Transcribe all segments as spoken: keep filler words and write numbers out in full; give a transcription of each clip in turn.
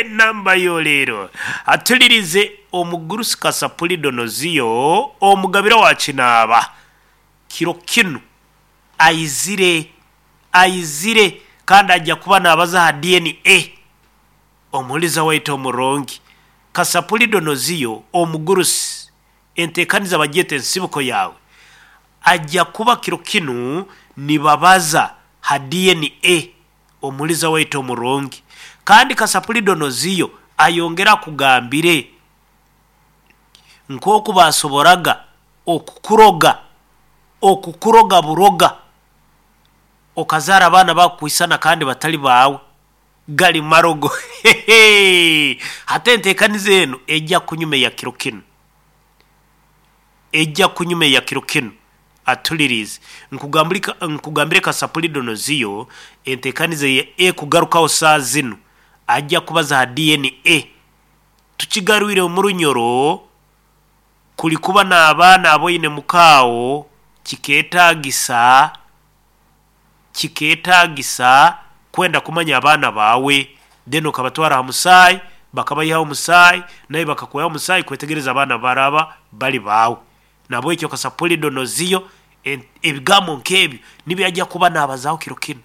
Enamba yoleero atulirize omugurusi Kasapuli Donoziyo, omugabira wa Kinaaba. Kiro kinu aizire aizire kandi ajja kuba naabaza ha D N A. Omuhuliza waitu omurungi Kasapuli Donoziyo omugurusi, enteekaniza bagyeta ensibuko yawe, ajja kuba kiro kinu nibabaza ha D N A. Omuhuliza waitu omurungi, kandi Kasapuli Donoziyo ayongera akugambire nk'oku basoboraga okukuroga, okukuroga buroga okazaara abaana bakukwisana kandi batali baawe, gali marogo. Hati enteekaniza enu ejja kunyuma eya kiro kinu, ejja kunyuma eya kiro kinu. Atulirize nkugambire Kasapuli Donoziyo enteekaniza ekugarukaho saa zinu ajja kubaza ha D N A. Tukigarwire omu runyoro kuli kuba n'abaana aboine mukaawo, kikeetagisa kikeetagisa kwenda kumanya abaana baawe, then okabatwara ha musaayi, bakabayihaho omusaayi, nawe bakakwihaho omusaayi kwetegereza abaana baraba bali baawe. Nabwekyo Kasapuli Donoziyo ebigambo nk'ebyo nibyo ajja kuba naabazaho kiro kinu.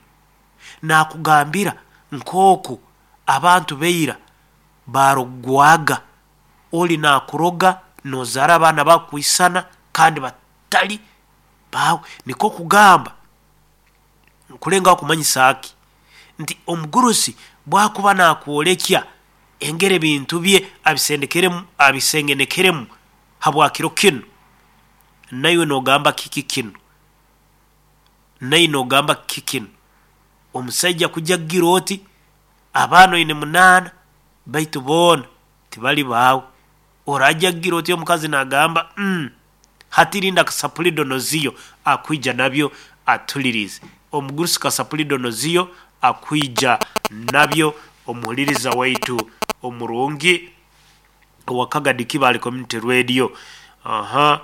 Naakugambira nk'oku abantu baira baarogwaga, oli naakuroga noozaara abaana bakukwisana kandi batali baawe. Nikwo kugamba nkulengaho kumanyisa ki nti omugurusi bwakuba naakwolekya engeri ebintu bye abisendekeremu abisengenekeremu habwa kiro kinu, naiwe noogamba kiki kinu, naiwe noogamba kiki kinu, omusaija kujya kugira oti abaana oine munaana baitu boona tibali baawe, orajya kugira oti omukazi naagamba mm, hati rinda Kasapuli Donoziyo akwija nabyo atulirize. Omugurusi Kasapuli Donoziyo akwija nabyo, omuhuliriza waitu omurungi owa Kagadi Kibaale Community Radio. Aha,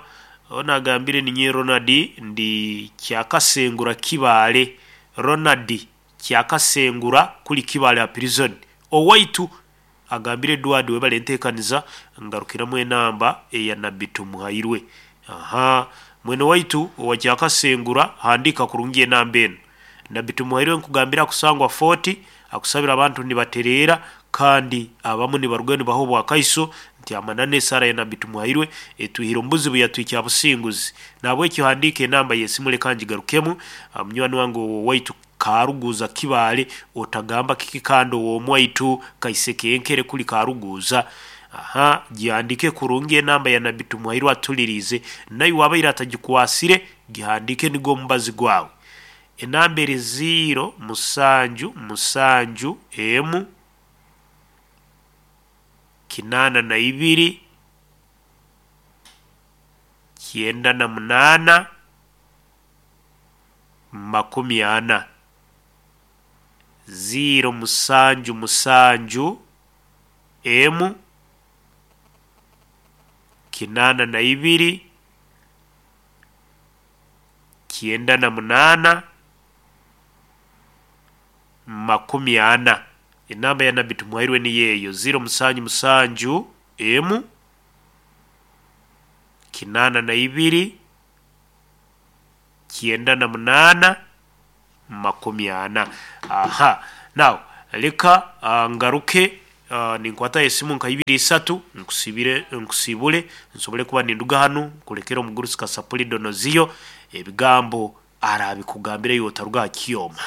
onu agambire ninyowe Ronald ndi Kyakasengura Kibaale, Ronald Kyakasengura kuli Kibaale ha prison. Owaitu agambire Edward webale enteekaniza, ngarukiramu enamba eya Nabbi Tumuhairwe. Aha, mwene waitu owa Kyakasengura handiika kurungi enamba enu. Nabbi Tumuhairwe nkugambira akusangwa Fort, akusabira abantu nibatereera kandi abamu nibarugayo nibaha obwakaiso nti amananu esaara ya Nabbi Tumuhairwe etwihire omu buzibu yatuhikya ha businguzi. Nahabwekyo handiika enamba y'esimu leka ngigarukemu, munywani wange owaitu Karuguza Kibaale, otagamba kiki kandi ow'omwaitu Kaisekenkere kuli Karuguza. Aha, gihandiike kurungi enamba ya Nabbi Tumuhairwe atulirize, naiwe abaire atagikwasire gihandiike nigwo omubazi gwawe. Enamba eri ziro musanju musanju emu kinaana na ibiri kyenda na munaana makumi ana, ziro musanju musanju emu kinaana na ibiri kyenda na munaana makumi ana. Enamba ya Nabbi Tumuhairwe niyo eyo ziro musanju musanju emu kinaana na ibiri kyenda na munaana makumi ana. Aha, now leka uh, ngaruke uh, ninkwatayo esimu nka ibiri isatu nkusibire nkusibule nsobole kuba ninduga hanu nkulekere omugurusi Kasapuli Donoziyo ebigambo arabikugambira iwe otaruga ha kyoma.